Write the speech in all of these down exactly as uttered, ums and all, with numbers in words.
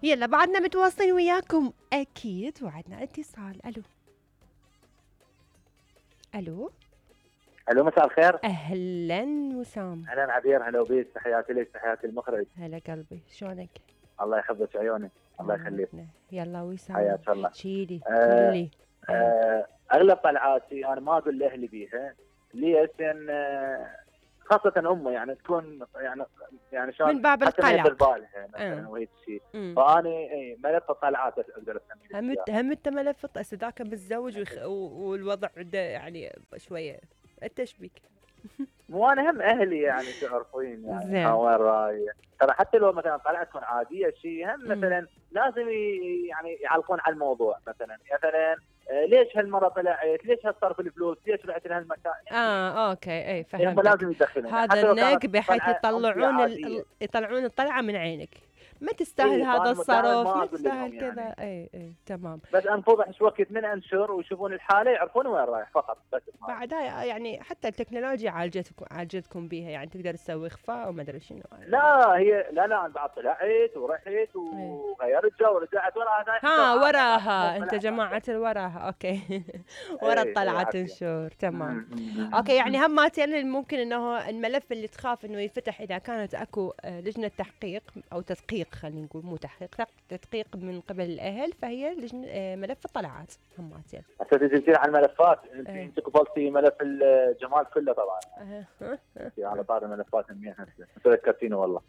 يلا بعدنا متواصلين وياكم اكيد، وعدنا اتصال. الو الو الو مساء الخير. اهلا وسام. اهلا عبير، هلا وبيك، تحياتي لك، تحياتي المخرج. هلا قلبي، شلونك؟ الله يحفظك عيوني، الله يخليك. يلا وسام حياك الله. احكيلي آه قولي. آه اغلب طلعاتي انا ما اقول لاهلي بيها، ليش؟ ان آه خاصة امه يعني تكون يعني يعني شلون من باب حتى ما القلق. يدير بالها مثلا آه. وهيك شيء، أمم. فاني اي ملف الطلعات اقدر اسميه. هم هم انت ملف هسه ذاك متزوج ويخ... و- والوضع ده يعني شويه التشبيك. مو انا هم اهلي يعني تعرفين يعني زين. ها وين رايح. ترى حتى لو مثلا طلعت تكون عاديه شيء، هم مم. مثلا لازم ي- يعني يعلقون على الموضوع. مثلا مثلا آه، ليش هالمره طلعت؟ ليش هالصرف الفلوس؟ ليش رحت لهالمكان؟ اه اوكي اي هم فهمتك. لازم يدخلون هذا حتى لو كانت النق بحيث طلعة يطلعون ال... عادية. ال- يطلعون الطلعه من عينك. ما تستاهل إيه، هذا فأنا الصرف، دائماً ما ما أقول تستاهل لهم كذا. يعني. اي اي تمام. بس انفضح شو وقت من انشر ويشوفون الحاله يعرفون وين رايح فقط بس. بعدها يعني حتى التكنولوجيا عالجتكم عالجتكم بيها، يعني تقدر تسوي اخفاء وما ادري شنو. لا هي لا لا انا بعد طلعت ورحت وغيرت جو ورجعت وراها. ها وراها انت جماعه الوراها اوكي. ورا إيه، الطلعه إيه، تنشر تمام. مم، مم، اوكي يعني مم. هماتين ممكن انه الملف اللي تخاف انه ينفتح اذا كانت اكو آه، لجنه تحقيق او تدقيق، خلينا نقول مو تحقيق، تق- تدقيق من قبل الاهل، فهي لجنه آه، ملف الطلعات هماتين. هسه تجي على الملفات، انت إيه. انت قبلتي ملف الجمال كله طبعا. أه. انت على طار الملفات همين هسه انت ذكرتيني والله.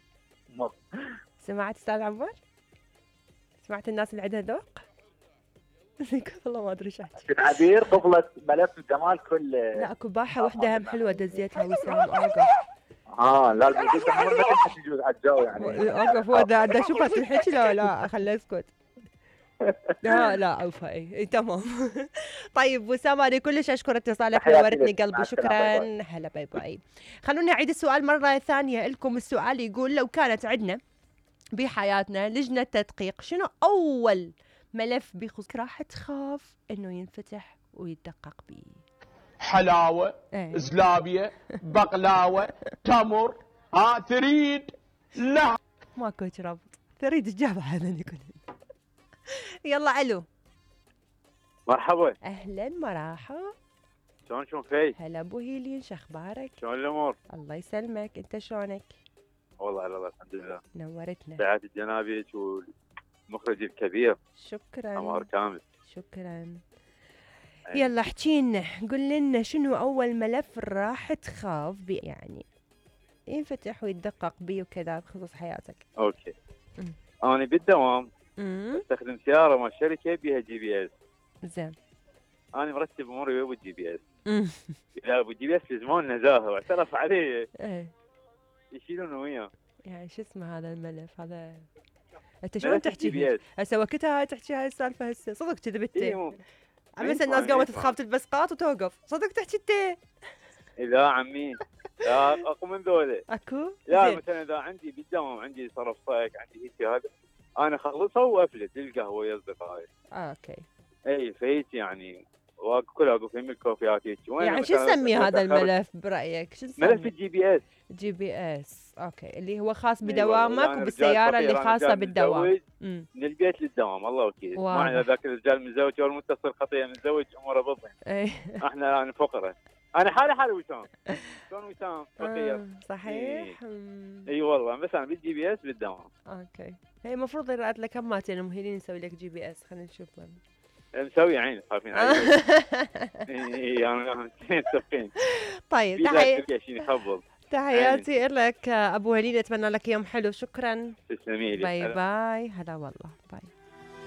سمعت استاذ عمر؟ سمعت الناس اللي عندها ذوق؟ والله ما ادري ايش احكي. كنت عبير قبلت ملف الجمال كله. لا اكو باحه وحده هم حلوه دزيتها وسام اوقف. اه لا لا قلت ما تنحكي تجوز على الجو يعني. اوقف هو دا دا اشوفها تنحكي لا لا خليه اسكت. لا لا عوفة اي اي تمام. طيب وسام انا كلش اشكر اتصالك، تحياتي نورتني لك. قلبي، مع السلامة. باي شكرا. هلا باي باي. خلونا نعيد السؤال مره ثانيه لكم. السؤال يقول لو كانت عندنا بحياتنا لجنه تدقيق، شنو اول ملف بخصوص راح تخاف انه ينفتح ويدقق به؟ حلاوه، إيه. زلابيه، بقلاوه، تمر، ها تريد؟ لا ماكو ربط، تريد تجاب هذا كله. يلا الو. مرحبا. اهلا مرحبا. شلون شلون في؟ هلا ابو هيلين، شو اخبارك؟ شلون الامور؟ الله يسلمك، انت شلونك؟ والله على الله الحمد لله. نورتنا. تحياتي لجنابك والمخرج الكبير شكرا. عمار كامل. شكرا. أي. يلا احكينا، قل لنا شنو اول ملف راح تخاف بي يعني ينفتح ويتدقق بيه وكذا بخصوص حياتك؟ اوكي. مم. انا بالدوام امم استخدم سياره مال شركه بيها جي بي اس. زين. انا مرتب اموري ويا الجي بي اس. امم اذا ابو جي بي اس في زمان نزاهه واعترف عليه ايه يشيلونه وياه. يعني شو اسمه هذا الملف هذا؟ انت شلون ملف الجي بي تحكي اس. هسه وقتها هاي تحكي هاي السالفه هسه صدق كذبت؟ إيه مو- مثل ينفع- الناس قامت ينفع. تخاف تلبس قاط وتوقف، صدق تحكي انت؟ اذا عمي لا اقوم من ذولا. اكو؟ لا زين. مثلا اذا عندي بالدوام عندي صرف صايك عندي هيك هذا انا اخلصها وافلت للقهوه ويا اصدقائي. آه اوكي. اي فهيك يعني واقف كل واقف يم الكوفيات هيك. وين يعني شو مثلاً نسمي هذا أتأخر- الملف برايك؟ شو نسمي؟ ملف الجي بي اس. جي بي اس اوكي، اللي هو خاص أي والله، بدوامك أنا رجال وبالسياره اللي فقير، أنا خاصه رجال بالدوام. متزوج امم من البيت للدوام الله وكيل. واضح. ما ذاك الرجال متزوج او متصل خطيه متزوج اموره بالضبط. ايه احنا يعني فقراء. انا حالي حالي وسام. شلون وسام فقير. آه، صحيح. مم. اي والله بس انا بالجي بي اس بالدوام. اوكي، هي المفروض يراد لك هماتين مهيلين نسوي لك جي بي اس، خلينا نشوف من. مسوي عين خايفين علي. اي انا متفقين. طيب في تحية ذاك شيء يخبل. تحياتي لك ابو هليل، اتمنى لك يوم حلو. شكرا. تسلمي لي. باي هلا. باي. هلا والله باي.